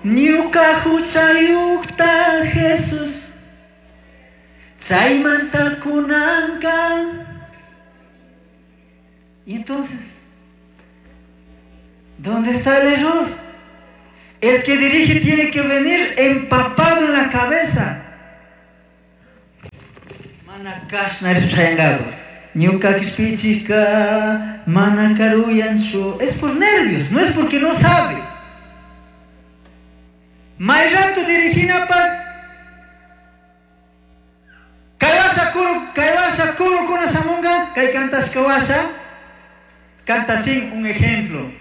Ñuka huchayuqta Jesús chaymanta kunanka. Y entonces, ¿dónde está el error? El que dirige tiene que venir empapado en la cabeza. Mana kashna rishpa Ñuka kishpichikka mana karuyanchu. Es por nervios, no es porque no sabe. May rato diriginapaq kay washa kuru, kay washa kurukuna shamunga, kay kantashka washa, kantachin un ejemplo.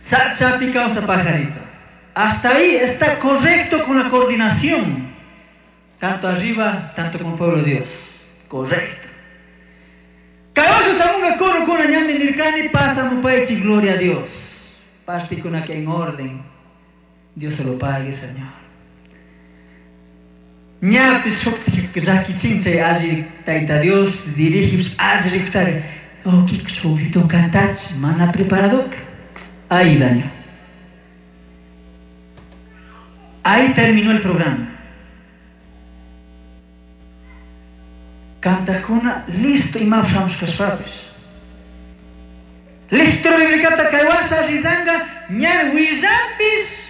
Sachapi kawsaj pajarito. Hasta ahí está correcto con la coordinación. Tanto arriba, tanto con el pueblo de Dios. Correcto. Kay washa shamunga kurukuna ñami nirkani pasamupaychik, gloria a Dios. Partikuna que en orden. Dios se lo pague, Señor. Ñapis shuktik llakichin chay alli Tayta Dios dirige alli rikutari. Oh, shukito kantach, mana preparado. Ahí daño. Ahí terminó el programa. Kantakuna listo imapish shamushkashpapish. Lectura biblicata kay washa rizanga ña willanpish.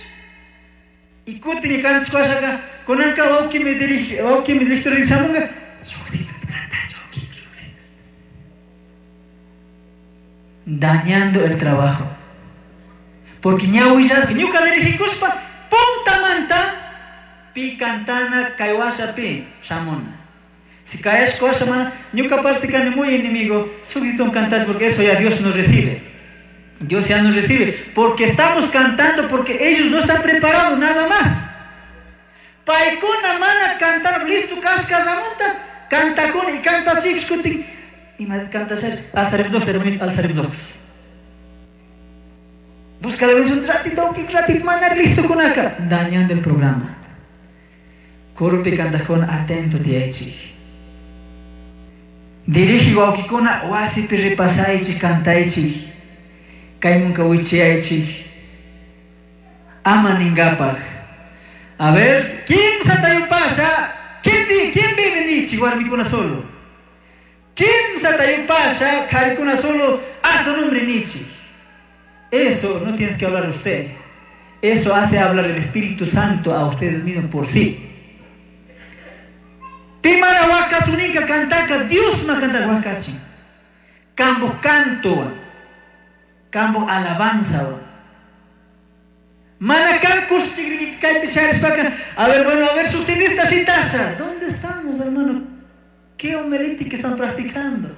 Y kutin kantashka kunanka wawqimi dirige, wawqimi lectura shamunga. Dañando el trabajo. Porque ña willarka, ñuka dirigikuspa puntamanta pi kantana kay washa pi shamuna. Si caes cosa, mana, ñuka parte kani muy enemigo, sugitón cantas porque eso ya Dios nos recibe. Dios ya nos recibe. Porque estamos cantando porque ellos no están preparados, nada más. Paykuna mana cantar, listo, kashka ramunta, canta con y canta así, escuchen. Y más canta ser, alzaremos hermanito, alzaremos Busca la bendición, ratito, un ratito, mana, listo con acá. Dañando el programa. Corpi canta con atento, tiyaychik. Dirige wawkikuna wasipi ripasaychik, kantaychik. Kaymunka wichiyaychik. Ama ningapaj. A ver, kimsata yupasha? ¿Quién di, quién vive nichik warmikuna solo? Kimsata yupasha, qarikuna solo, a su nombre nichik. Eso no tienes que hablar usted. Eso hace hablar el Espíritu Santo a ustedes mismos por sí. Pi mana wakachuninka kantaka, Dios ma kantaka wakachin. Kambo canto, kambo alabanza. Mana kan kaypi sharishpaka. A ver, bueno, a ver, sustentista shitasha. ¿Dónde estamos, hermano? ¿Qué homilética están practicando?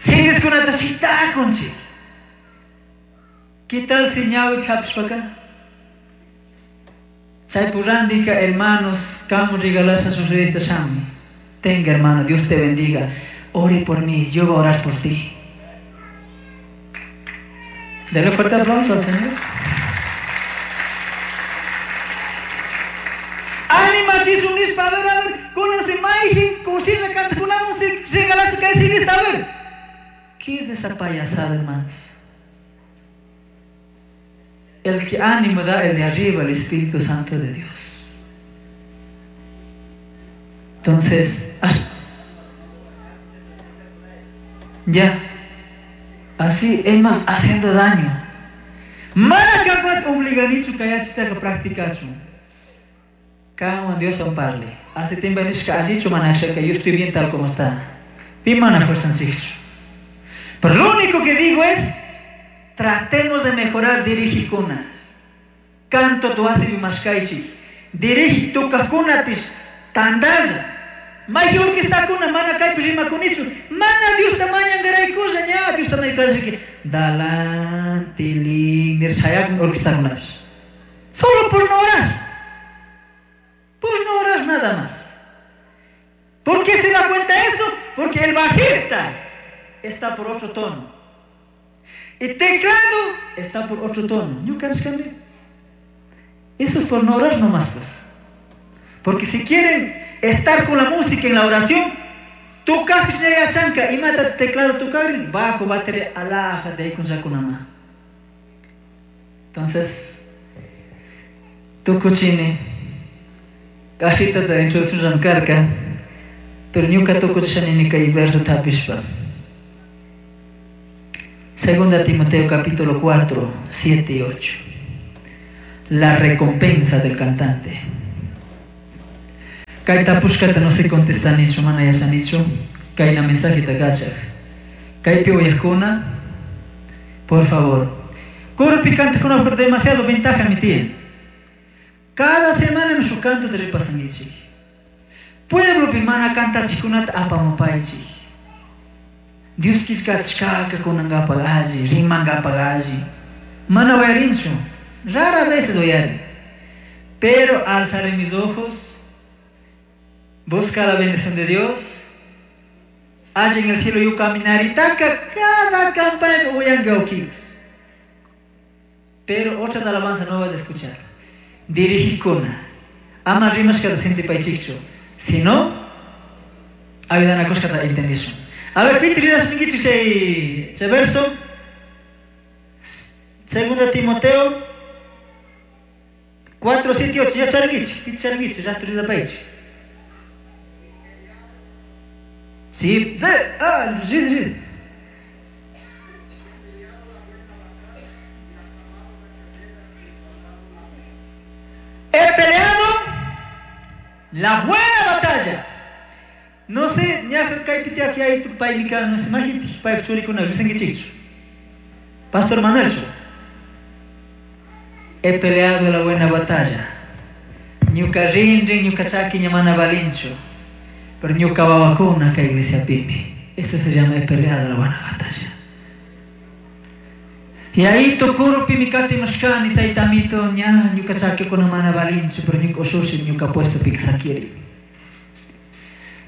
Sindiskunata shitakunchik. ¿Qué tal si ñawi hapishpaka? Chaypurrandika, hermanos, kamu regalasha sucedista shami. Tenga, hermano, Dios te bendiga. Ore por mí, yo voy a orar por ti. Dale fuerte aplauso al Señor. Ánima, si es un ispa, a ver, a ver, con ese maijin, con si le canta, con la música, regalarse que es a ver. ¿Qué es esa payasada, hermanos? El que ánimo da el de arriba, el Espíritu Santo de Dios. Entonces, ya, así es más haciendo daño. Mana kapat obliganichu kayachitaka practicachu. Kawan Dios amparle. Hace tiempo nishka allichu mana que yo estoy bien tal como está. Pi mana fuerza. Pero lo único que digo es, tratemos de mejorar dirigikuna. Canto tu asibi mashkaichi. Dirigi tu kakunapish tandalla. Mayor que está kuna mana kaypi rimakunichu. Mana Dios tamañangaraykulla ña Dios tamañangaraykulla. Dalan tilin nirshayakun orquestakunapish. Solo por no orar. Por no orar nada más. ¿Por qué se da cuenta eso? Porque el bajista está por otro tono. El teclado está por otro tono. Eso es por no orar nomás, pues. Porque si quieren estar con la música en la oración, Tukajpish ña yachanka imata teclado tukagrin bajo batería alhaja de. Entonces, tukuchini kashitata introducción karka, pero ñuka tukuchishani kay verso tapishpa. Segunda Timoteo capítulo 4, 7 y 8. La recompensa del cantante. Kay tapushkata no se contestanichu, mana yachanichu, kayna mensaje kachaj. Kaypi uyajkuna, por favor. Coropi cantaqkuna por demasiado ventaja mi tiyan. Cada semana mi shuk canto repasankichik. Pueblopi mana kantachikkunata apamupaychik. Dios killkachishkaka kunankapaq alli, rimankapaq alli. Mana uyarinchu, rara veces uyarin. Pero alzaré mis ojos, busca la bendición de Dios. Allá en el cielo yo caminaré, taka cada campaña uyanka. Pero otra alabanza no vas a escuchar. Dirigikuna, ama rimashkata sintipaychikchu. Si no, ayudanakushkata entendishun. A ver, Peter, rirashunkichik chay chay verso. Segunda Timoteo 4, 7, 8. Ya charinkichik, Peter charinkichik, rato rirapaychik. Sí, de, ah, sí, sí. He peleado la buena batalla. No sé, ñaja kaypi tiyaq yaytu paymi kan, no sé, majintik paypa churikuna risinkichikchu. Pastor Manuelchu. He peleado la buena batalla. Ñuka rinrin, ñuka chaki ña mana valinchu. Pero ñuka wawakuna kay iglesiapimi. Esto se llama he peleado la buena batalla. Y ahí tukurupimi katimushkani taytamito ña ñuka chakikuna mana valinchu, pero ñuka ushushi ñuka puesto sakiri.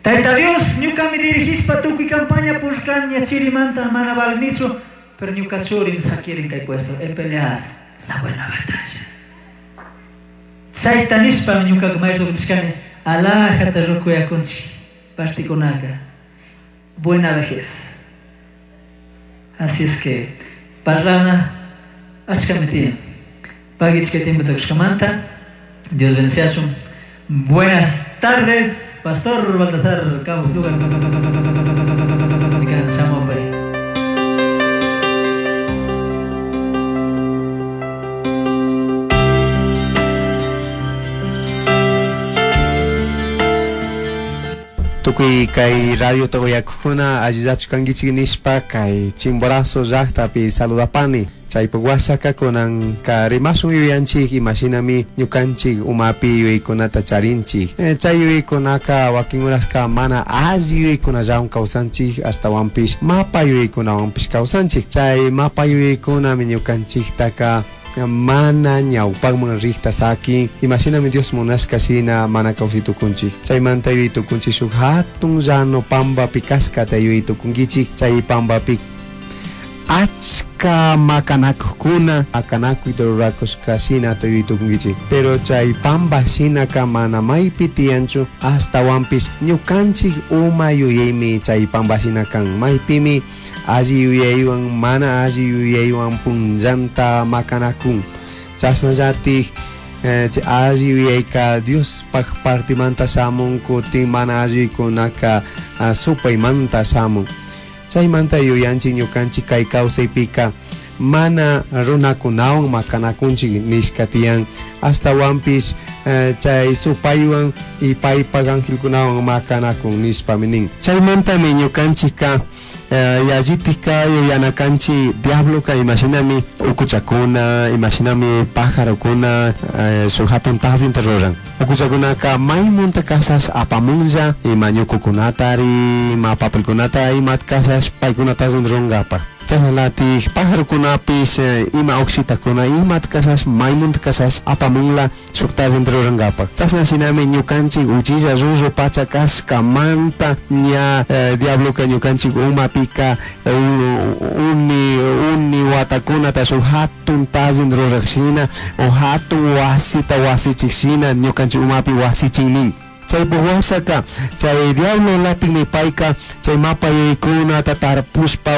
Tayta Dios, ñuka mi dirigishpa tukuy campaña pushkan ña chirimanta mana valinichu, pero ñuka churim sakirin kay puesto. He peleado la buena batalla. Chayta nishpa ñuka maestro nishkani alajata rukuyakunchik partikunaka. Buena vejez. Así es que parlana achkami tiyan. Pagichka tiempo tukushkamanta. Dios bendeciachun. Buenas tardes, Pastor Baltasar Campos Lugar. Tukuy kay radio Togoyakuna allillachu kankichik nishpa kay Chimborazo llaqtapi saludapani. Chaypaq washaka kunan ka rimasun yuyanchik imashinami ñukanchik umapi yuyaykunata charinchik. Chay yuyaykunaka wakin uraska mana alli yuyaykunallawan kawsanchik astawanpish mapa yuyaykunawanpish kawsanchik. Chay mapa yuyaykunami ñukanchiktaka mana ñawpaqman riqta sakin imashinami Dios munashka shina mana kawsaytukunchik. Chaymanta yuyaytukunchik shuk hatun llano pampapi kashkata yuyaytukunkichik. Chay pampapi achka makanakuqkuna makanakuyta rurakushka shina yuyaytukunkichik. Pero chay pampa shinaka mana maypi tiyanchu astawanpish ñukanchik uma yuyaymi chay pampa shina kan maypimi alli yuyaywan mana alli yuyaywan punllanta makanakun. Chasnallatik alli yuyayka Diospaq partimanta shamun kutin mana alli yuyaykunaka supaymanta shamun. Chaymanta yuyanchik ñukanchik kay kawsaypika mana runakunawan makanakunchik nishka tiyan astawanpish chay supaywan y paypaq angelkunawan makanakun nishpami nin. Chaymantami ñukanchikka yallitikka yuyanakanchik diabloka imashinami ukuchakuna, imashinami pajarokuna shuk hatun tazinta ruran. Ukuchakunaka maymunta kashash apamunlla ima ñukukunatari, ima papelkunata ima kashash paykuna tazinta rurankapak. Chashnalatik pajarokunapish ima ukshitakuna imata kashash maymunta kashash apamunla shuk tazinta rurankapak. Chashna shinami ñukanchik uchilla ruru pacha kashkamanta ña diabloka ñukanchik umapika uni watakunata shuk hatun tazinta ruraq shina o hatun wasita wasichik shina ñukanchik umapi wasichin nin. Chaypuk washaka chay diablo latinmi payka chay mapa yuyaykunata tarpushpa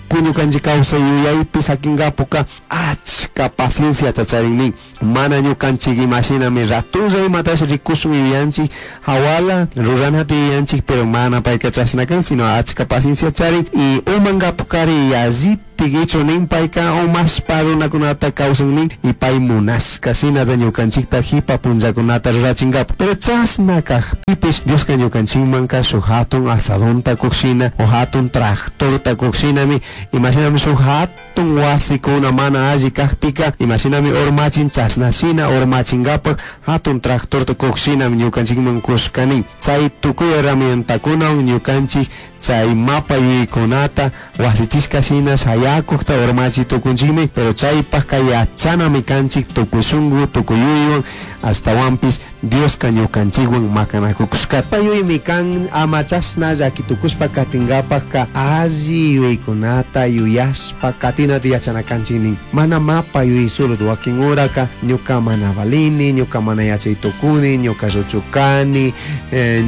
ñukanchik kawsay yuyaypi sakingapuka achka pacienciata charin nin. Mana ñukanchik imashinami ratulla imatash rikushun yuyanchik hawala ruranata yuyanchik, pero mana payka chashna kan, sino achka paciencia charin y umankapukari yallitik ichu nin payka umashpa runakunata kawsan nin y pay munashka shinata ñukanchikta hipa punllakunata rurachinkapak. Pero chashna kajpipish Dioska ñukanchikmanka shuk hatun asadonta kukshina o hatun tractorta kukshinami, imashinami shuk hatun wasikuna mana alli kajpika imashinami urmachin chashna shina urmachinkapak hatun tractorta kukshinami ñukanchikman kushka nin. Chay tukuy herramientakunawan ñukanchik chay mapa yuyaykunata wasichishka shina shayakukta urmachi tukunchikmi, pero chaypajka yachanami kanchik tukuy shunku tukuy yuyaywan, ashtawanpish Dioska ñukanchikwan makanakukushkata. Yuyaymi kan ama chashna llaki tukushpa katinkapakka alli yuyaykunata yuyashpa katinata yachana kanchik nin. Mana mapa yuyay solo wakin uraka ñuka mana valini, ñuka mana yachay tukuni, ñuka lluchu kani,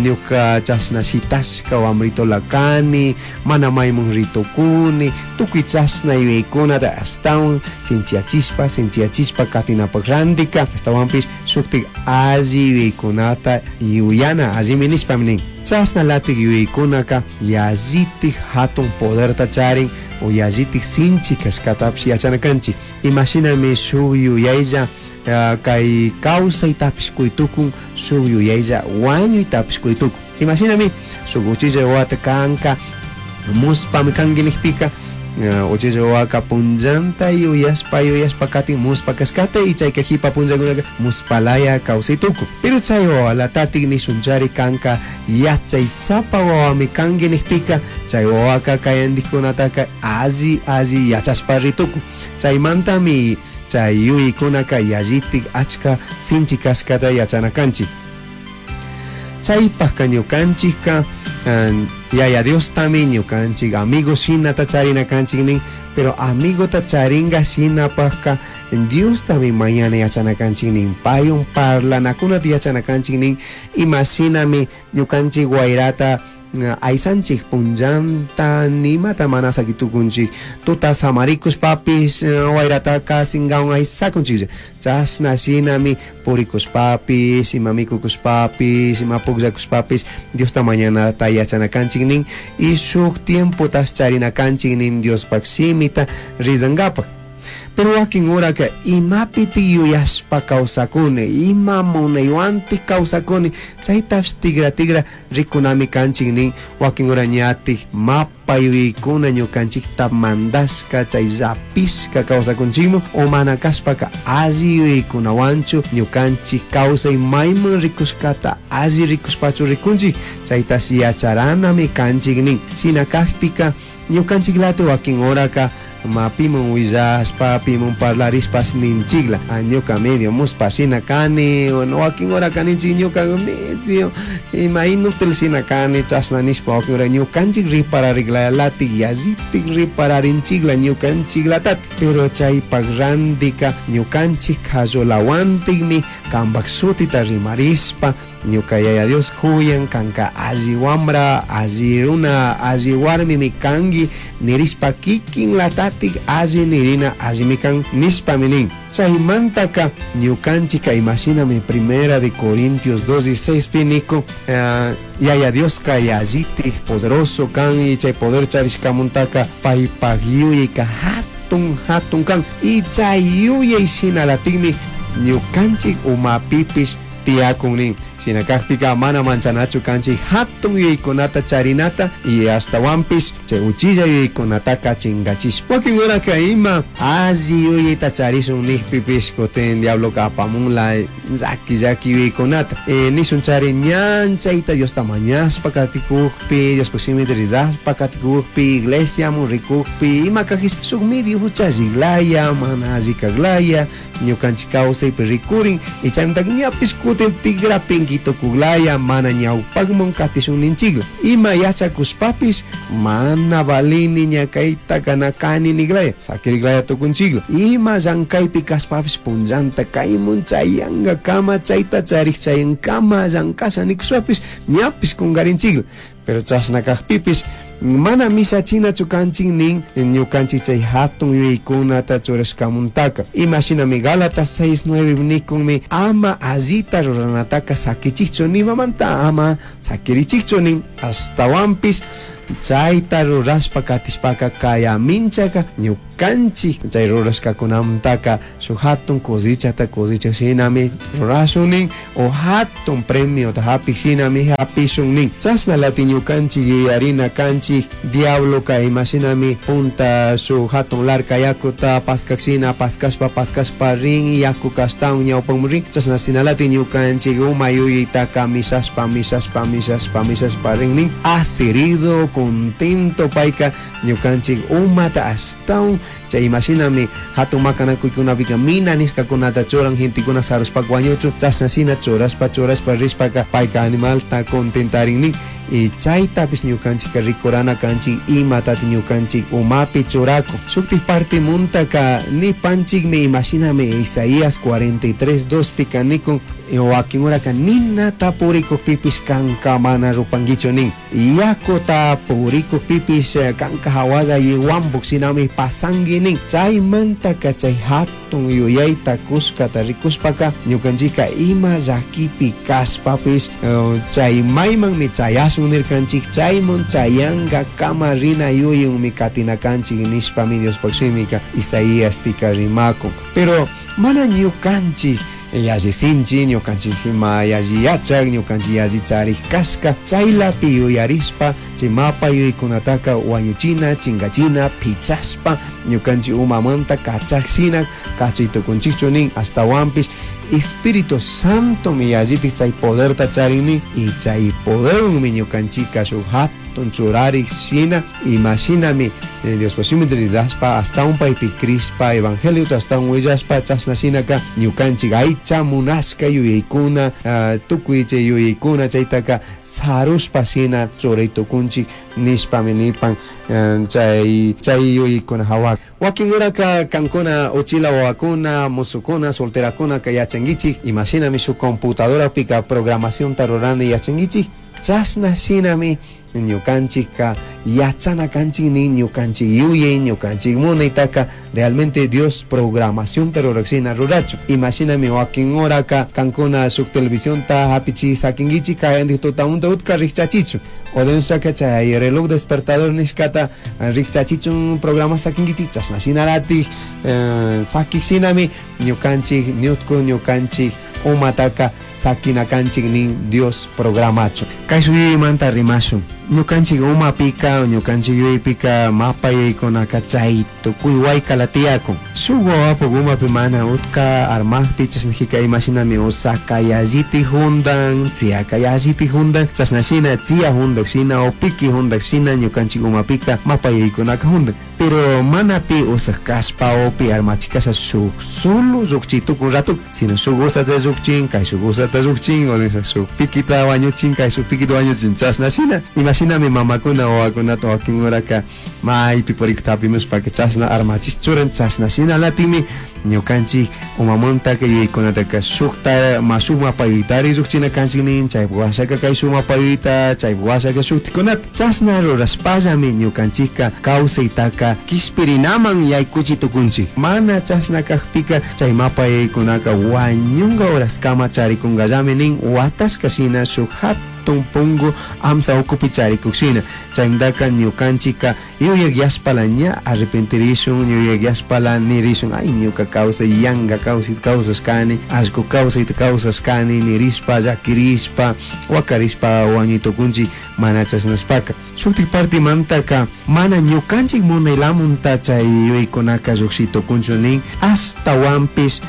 ñuka chashna shitashka wamritola kani, mana maymun ritukuni, tukuy chashna yuyaykunata ashtawan sinchiyachishpa sinchiyachishpa katinapak randika ashtawanpish shuktik alli yuyaykunata yuyana allimi nishpami nin. Chashna latik yuyaykunaka yallitik hatun poderta charin o yallitik sinchi kashkatapish yachana kanchik. Imashinami shuk yuyaylla kay kawsaytapish kuytukun, shuk yuyaylla wañuytapish kuytukun. Imashinami shuk uchilla wawata kanka muspami kanki nijpika, uchilla wawaka punllanta yuyashpa yuyashpa katin muspa kashkata y chayka hipa punllakunaka muspalaya kawsay tukun. Pero chay wawalatatik nishunchari kanka yachaysapa wawami kanki nijpika, chay wawaka kayantikkunataka alli alli yachashpa ritukun. Chaymantami chay yuyaykunaka yallitik achka sinchi kashkata yachana kanchik. Chaypajka ñukanchikka Yaya Diostami ñukanchik amigo shinata charina kanchik nin, pero amigota charinga shinapajka Diostami mañana yachana kanchik nin, paywan parlanakunata yachana kanchik nin, imashinami ñukanchik wayrata aysanchik punllanta nimata mana sakitukunchik, tuta samarikushpapish wayrataka sinkawan aysakunchik, chashna shinami purikushpapish, ima mikukushpapish, ima pukllakushpapish Diosta mañanata yachana kanchik nin, y shuk tiempotash charina kanchik nin Diospak shimita rizankapak. Pero wakin uraka imapiti yuyashpa kawsakuni, ima munaywantik kawsakuni, chaytash tigra tigra rikunami kanchik nin. Wakin ura ñatik mapa yuyaykuna ñukanchikta mandashka chay llapishka kawsakunchikmu, o mana kashpaka alli yuyaykunawanchu ñukanchik kawsay mayman rikushkata alli rikushpachu rikunchik, chaytash yacharanami kanchik nin. Shina kajpika ñukanchik lati wakin uraka ma pimun willashpa, pimun parlarishpash ninchikla, ñuka medio muspa shina kani, wakin ura kaninchik ñuka medio ima inútil shina kani, chashna nishpa wakin ura ñukanchik riparariklalatik yallitik ripararinchikla ñukanchiklatati. Pero chaypak randika ñukanchik kallulawantikmi kampak shutita rimarishpa ñuka Yaya Dios huyan kanka alli wambra, alli runa, alli warmimi kanki nirishpa kikin latatik alli nirina allimi kan nishpami nin. Chaymantaka ñukanchika imashinami Primera de Corintios 2:16 pi niko, Yaya Dioska yallitik poderoso kan y chay poder charishkamuntaka paypak yuyayka hatun hatun kan y chay yuyay shinalatikmi ñukanchik umapipish tiyakun nin. Shina kajpika mana manchanachu kanchik hatun yuyaykunata charinata y ashtawanpish chay uchilla yuyaykunataka chingachishpa. Wakin uraka ima alli yuyayta charishun nijpipish kutin diabloka apamunla llaki llaki yuyaykunata. Nishun chari ñan chayta Diosta mañashpa katikukpi, Diospaj shimita rizashpa katikukpi, iglesiamun rikukpi, ima kajish shuk medio huchalliklaya, mana alli kaklaya, ñukanchik kawsaypi rikurin, y chaymantaka ñapish Cutin tigrapinki tukuglaya mana ñawpakman katishun ninchikla. Ima yachakushpapis mana valini ñakayta nakani niglaya sakiriglaya tukunchikla. Ima llankaypi kashpapis punllanta kaymun chayanga kama chayta charik chayankama llankasha nikushpapis ñapis kungarinchikla. Pero chashna kaqpipis mana mishachinachu kanchik nin ñukanchik chay hatun yuyaykunata churashkamuntaka. Imashinami Gálatas 6:9 nikunmi ama allita ruranataka sakichikchu nimamanta ama sakirichikchu nin ashtawanpis chayta rurashpa katishpaka kayaminchaka ñukanchik chay rurashkakunamantaka shuk hatun cosechata cosecha shinami rurashun nin o hatun premiota hapik shinami hapishun nin. Chashna lati ñukanchik yuyarina kanchik diabloka imashinami punta shuk hatun larka yakuta paskak shina paskashpa paskashpa rin yakuka ashtawan ñawpanman rin. Chashna shinalati ñukanchik uma yuyaytaka mishashpa mishashpa mishashpa mishashpa rin nin. Asirido contento payka ñukanchik umata ashtawan chay imashinami hatun makanakuykunapika mina nishkakunata churan gentekuna sarushpa wañuchu chashna shina churashpa churashpa rishpaka payka animalta contentarin nin. Y chaytapis ñukanchikka rikurana kanchik imatati ñukanchik umapi churaku. Shuktik partimuntaka nipanchikmi imashinami Isaías 43:2 pika nikun wakin uraka ninata purikukpipis kanka mana rupankichu nin. Yakuta purikukpipis kanka hawalla yiwambuk shinami pasanki nin. Chaymantaka chay hatun yuyayta kuskata rikushpaka ñukanchikka ima llakipi kashpapis chay maymanmi chayashun nirkanchik chayman chayanka kama rina yuyunmi katina kanchik nishpami Diospaq shimika Isaíaspika rimakun. Pero mana ñukanchik yalli sinchi ñukanchik ima yalli yachak ñukanchik yalli charik kashka chaylapi yuyarishpa chay mapa yuyaykunataka wañuchina chinkachina pichashpa ñukanchik umamanta kachakshina kachay tukunchikchu nin. Ashtawanpish Espíritu Santo mi yallitik chay poderta charin nin y chay poderwanmi ñukanchika shuk hatun churarik shina imashinami Diospa shimita rirashpa ashtawan paypi crishpa evangeliota ashtawan willashpa chashna shinaka ñukanchik aycha munashka yuyaykuna tukuy chay yuyaykuna chaytaka sarushpa shina churay tukunchik nishpami nipan chay yuyaykuna hawa. Wakin uraka kankuna uchila wawakuna musukuna solterakunaka yachankichik imashinami shuk computadorapika programacionta rurana yachankichik chashna shinami ñukanchikka yachana kanchik nin ñukanchik yuyay ñukanchik munaytaka realmente Dios programacionta rurashina rurachu. Imashinami wakin uraka kankuna shuk televisionta hapichi sakinkichik kayantik tutamunta utka rikchachichu o denunciaka chay reloj despertador nishkata rikchachichun programa sakinkichik chashna shinalatik sakik shinami ñukanchik ñutku ñukanchik umataka sakina kanchik nin Dios programachu. Kay shuyaymanta rimashun ñukanchik umapika ñukanchik yuyaypika mapa yuyaykunaka chay tukuy waykala tiyakun. Shuk wawapuk umapi mana utka armakpi chashnajika imashinami usaka yalliti juntan tziyaka yalliti juntan chashna shina tziya juntak shina o piki juntak shina ñukanchik umapika mapa yuyaykunaka juntan. Pero mana pi usak kashpa o pi armachikasha shuk solo llukchi tukun ratuk sino shuk usata llukchin kay shuk usata llukchin o shuk pikita wañuchin kay shuk pikita wañuchin chashna shina imashinami mamakuna wawakunata wakin uraka maypi purikta hapimushpaka chashna armachish churan chashna shina latimi ñukanchik umamantaka yuyaykunataka shukta ma shuk mapa yuyaytari llukchina kanchik nin chaypuk washaka kay shuk mapa yuyayta chaypuk washaka shuktikunata chashna rurashpallami ñukanchikka kawsaytaka kishpirinaman yaykuchi tukunchik. Mana chashna kakpika chay mapa yuyaykunaka wañunka horaskama charikunkallami nin watashka shina shuk hatun pungu amsa ukupi charikuk shina. Chaymantaka ñukanchikka yuyak yashpala ña arrepentirishun yuyak yashpala nirishun ay ñuka kawsay yanka kawsayta kawsashkani allku kawsayta kawsashkani nirishpa llakirishpa wakarishpa wañuy tukunchik mana chashnashpaka. Shuktik partimantaka mana ñukanchik munaylamunta chay yuyaykunaka llukshiy tukunchu nin ashtawanpish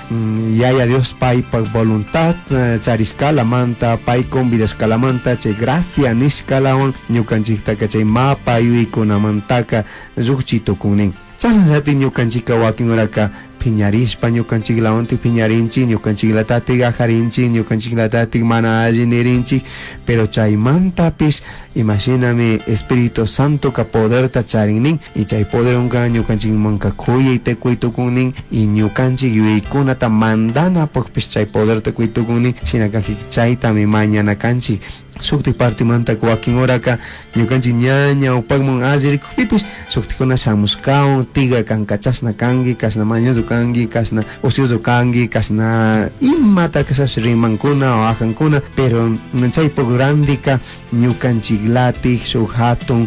Yaya Dios paypak voluntad charishkalamanta pay convidashkalamanta chay gracia nishkalawan ñukanchiktaka chay mapa yuyaykunamantaka llukchi tukun nin. Chashnallati ñukanchikka wakin uraka Piñarishpa ñukanchiklawantik piñarinchik, ñukanchiklatatik ajarinchik, ñukanchiklatatik mana alli nirinchik, pero chaymantapish imashinami Espíritu Santoka poderta charin nin, y chay poderwanka ñukanchikmanka kuyayta kuy tukun nin, y ñukanchik yuyaykunata mandanapukpish chay poderta kuy tukun nin, shinaka chaytami mañana kanchik. Shuktik partimanta wakin horaka ñukanchik ña ñawpakman alli rikukpipish shuktikuna shamushkawan tigra kanka chashna kanki, kashna mañoso kanki, kashna ocioso kanki, kashna imata kashash rimankuna o ajankuna, pero chaypuk randika ñukanchiklatik shuk hatun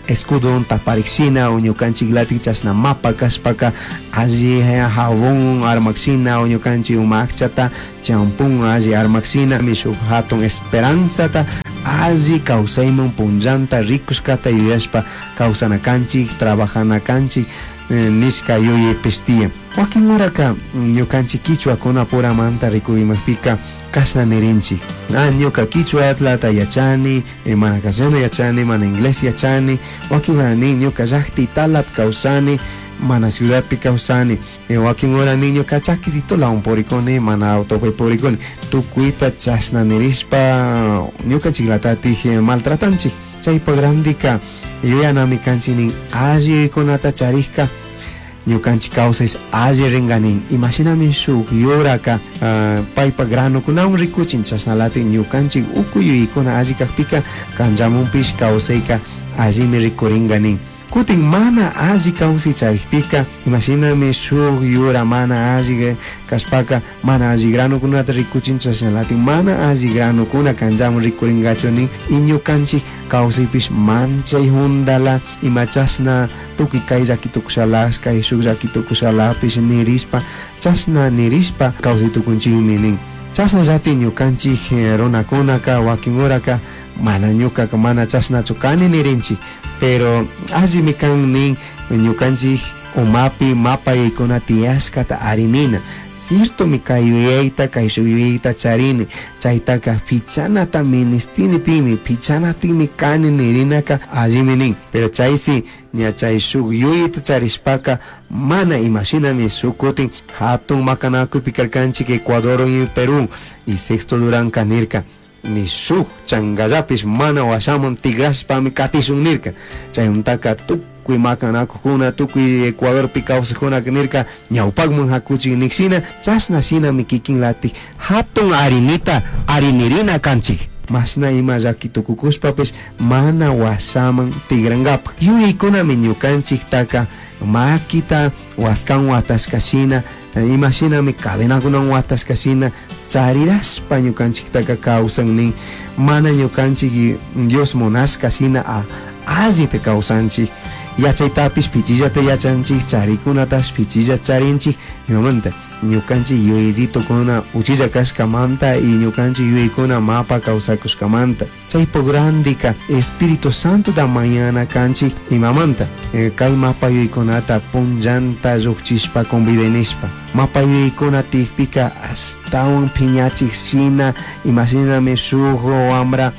escudo taparikshina o ñukanchiklatik chashna mapa kashpaka alli jabón armakshina o ñukanchik uma akchata champún alli armakshina shuk hatun esperanzata alli kawsayman punllanta rikushkata yuyashpa kawsana kanchik, trabajana kanchik, nishka yuyaypish tiyan. Wakin horaka ñukanchik kichwakunapuramanta rikuymakpika kashna nirinchik. Ah, ñuka kichwatlata yachani, mana castellano yachani, mana inglés yachani. Wakin hora nin ñuka llaqti talap kawsani, mana ciudadpi kawsani. Wakin hora nin ñuka chakisitolawan purikuni, mana autopi purikuni. Tukuyta chashna nirishpa ñukanchiklatatik maltratanchik. Chaypa randika yuyanami kanchik nin allikunata charikka ñukanchik kawsay alli ringanin. Imashinami shuk yuraka, paypa granukunawan rikuchin, chashnalatik ñukanchik uku yuyaykuna alli kakpika kanllamunpish kawsayka allimi rikuringanin. Kutin mana alli kawsay charikpika imashinami shuk yura mana alli kashpaka mana alli granukunata rikuchin, chashnalatik mana alli granukuna kanllamun rikuringachu nin. Y ñukanchik kawsaypish manchay hundala ima chashna tukuy kay llaki tukushalash, kay shuk llaki tukushalapish nirishpa chashna nirishpa kawsay tukunchikmi nin. Chashnallati ñukanchik runakunaka wakin horaka mana ñukaka mana chashnachu kani nirinchik, pero allimi kan nin ñukanchik umapi mapa yaykuna tiyashkata arinina. Ciertomi kay yuyayta, kay shuk yuyayta charini, chaytaka pichanata ministinipimi, pichanatimi kani nirinaka allimi nin. Pero chaysi ña chay shuk yuyayta charishpaka mana imashinami shuk kutin hatun makanakuypi karkanchik Ecuador y Perú, y Sexto Durán nirka ni shuk changallapish mana washaman tigrashpami katishun nirka. Chayuntaka tukuy makanakukuna, tukuy Ecuadorpi kawsakuna nirka ñawpakman hakuchik nikshina, chashna shinami kikinlatik hatun arinita arinirina kanchik. Mashna ima llaki tukukushpapish mana washaman tigrankapak. Yuyaykunami ñukanchiktaka makita waskan watashka shina, imashinami cadenakunan watashka shina charirashpa ñukanchiktaka kawsan nin. Mana ñukanchik Dios munashka shina allita kawsanchik. Yachaytapish pichillata yachanchik, charikunatash pichilla charinchik. Imamanta ñukanchik yuyaysitukuna uchilla kashkamanta y ñukanchik yuyaykuna mapa kawsakushkamanta. Chaypuk randika Espíritu Santo da mañana kanchik imamanta kay mapa yuyaykunata punllanta llukchishpa convidenishpa. Mapa yuyaykuna tikpika ashtawan piñachik shina imashinami shuk wambra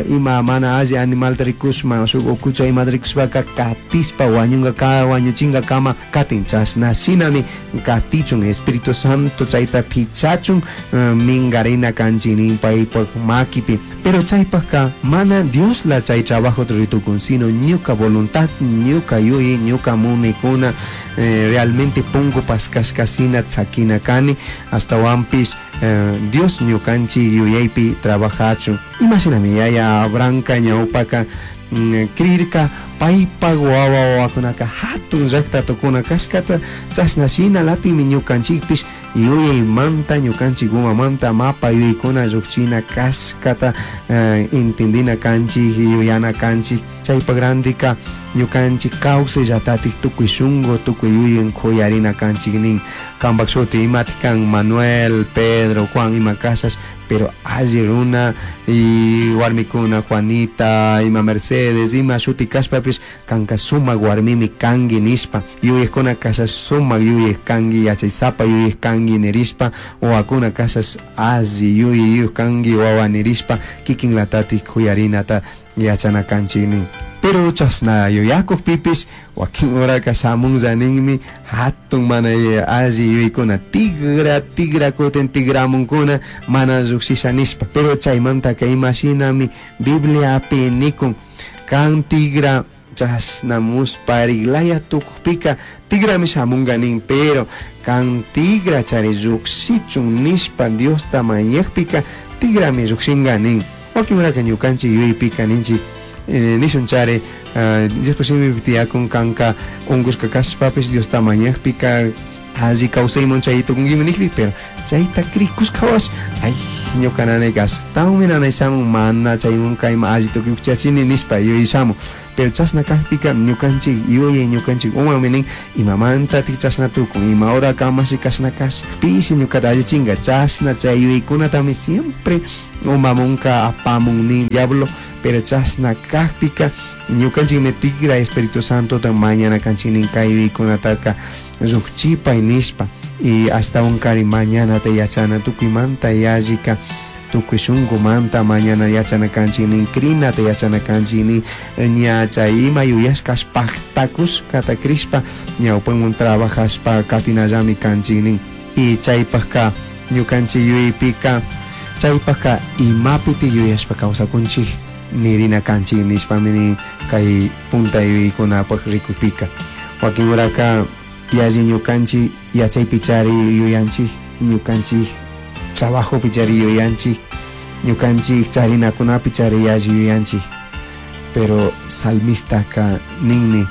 ima mana alli animalta rikushma, shuk ukucha imata rikushpaka katispa wañunka ka, wañuchinka kama katin. Chashna shinami katichun Espíritu Santo chayta pichachun, mingarina kanchik nin paypak makipi. Pero chaypakka mana Diosla chay trabajo ritukun, sino ñuka voluntad, ñuka yuyay, ñuka munaykuna, realmente punku paskashka shina tzakina kani, astawanpish, Dios ñukanchik yuyaypi trabajachun. Imashinami yaya Abrahamka ñawpaka, creerka paypak wawa wawakunaka hatun llakta tukuna kashkata, chashna shina latimi ñukanchikpish yuyaymanta ñukanchik umamanta mapa yuyaykuna llukchina kashkata, entendina kanchik, yuyana kanchik. Chaypak randika ñukanchik kawsayllatatik tukuy shunku, tukuy yuyan kuyarina kanchik nin. Kampak shuti imatik kan Manuel, Pedro, Juan ima kashash, pero alli runa y warmikuna Juanita, ima Mercedes, ima shuti kashpapish kanka sumak warmimi kanki nishpa, yuyaykuna kashash sumak yuyay kanki, yachaysapa yuyay kanki nirishpa, wawakuna kashash alli yuyay kanki wawa nirishpa, kikinlatatik kuyarinata yachana kanchik nin. Pero chashna yuyakukpipis wakin uraka shamunlla ninmi hatun mana alli yuyaykuna tigra tigra kutin tigramunkuna mana llukshisha nishpa. Pero chaymantaka imashinami Bibliapi nikun kan tigra chashna muspariglaya tukukpika tigrami shamunga nin, pero kan tigra chari llukshichun nishpa Diosta mañakpika tigrami llukshinga nin. Wakin uraka ñukanchik yuyaypika ninchik nishun chari Diospa shimipi tiyakun kanka unkushka kashpapish Diosta mañakpika alli kawsayman chay tukunkimi nijpi, pero chayta krikushkawash ay ñuka nanayka ashtawanmi nanay shamun mana chaymun kayman alli tukuychachini nishpa yuyashamun. Pero chashna kakpika ñukanchik yuyay ñukanchik umami nin imamantatik chashna tukun, ima hora kamashi kashna kash pishi ñukata allichinga, chashna chay yuyaykunatami siempre umamunka apamun nin diablo. Pero chashna kakpika ñukanchikmi tigra Espíritu Santota mañana kanchik nin kay yuyaykunataka llukchipay nishpa. Y ashtawankari mañanata yachana tukuymanta yallika tukuy shunkumanta mañana yachana kanchik nin, krinata yachana kanchik nin, ña chay ima yuyashkash pajtakushkata krishpa ñawpanwan trabajashpa katinallami kanchik nin. Y chaypajka ñukanchik yuyaypika chaypajka imapiti yuyashpa kawsakunchik nirina kanchik nishpami nin kay punta yuyaykunapaj rikukpika. Wakin uraka yalli ñukanchik yachaypi chari yuyanchik, ñukanchik trabajopi chari yuyanchik, ñukanchik charinakunapi chari yalli yuyanchik. Pero salmistaka ninmi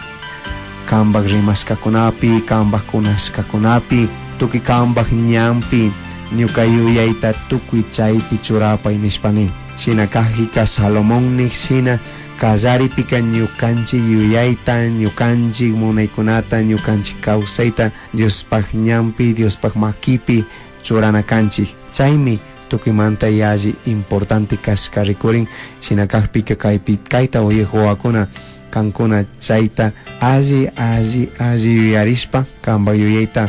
kanpak rimashkakunapi, kanpak kunashkakunapi, tukuy kanpak ñanpi ñuka yuyayta tukuy chaypi churapay nishpa nin. Shina kajika Salomón nik shina kallaripika ñukanchik yuyayta, ñukanchik munaykunata, ñukanchik kawsayta Diospaj ñanpi, Diospaj makipi churana kanchik. Chaymi tukuymanta yalli importante kashka rikurin. Shina kakpika kaypi kayta uyaj wawakuna kankuna chayta alli alli alli yuyarishpa kanpak yuyayta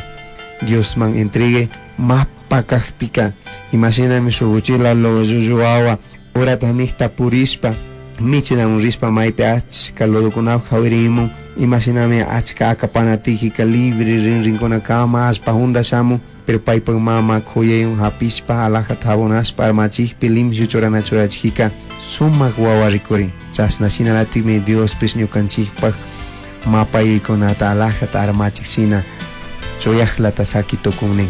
Diosman entregue mapa kakpika imashinami shuk uchila llullu wawa urata nikta purishpa michinamun rishpa maypi achka lodokunapak jawirimun, imashinami achka akapanatijika libre rinrinkunakama allpa junda shamun, pero paypak mama kuyaywan hapishpa alajata jabonashpa armachikpi limpio churana churachijika sumak wawa rikurin. Chashna shinalatikmi Diospish ñukanchikpak mapa yuyaykunata alajata armachik shina chuyajlata saki tukun nin.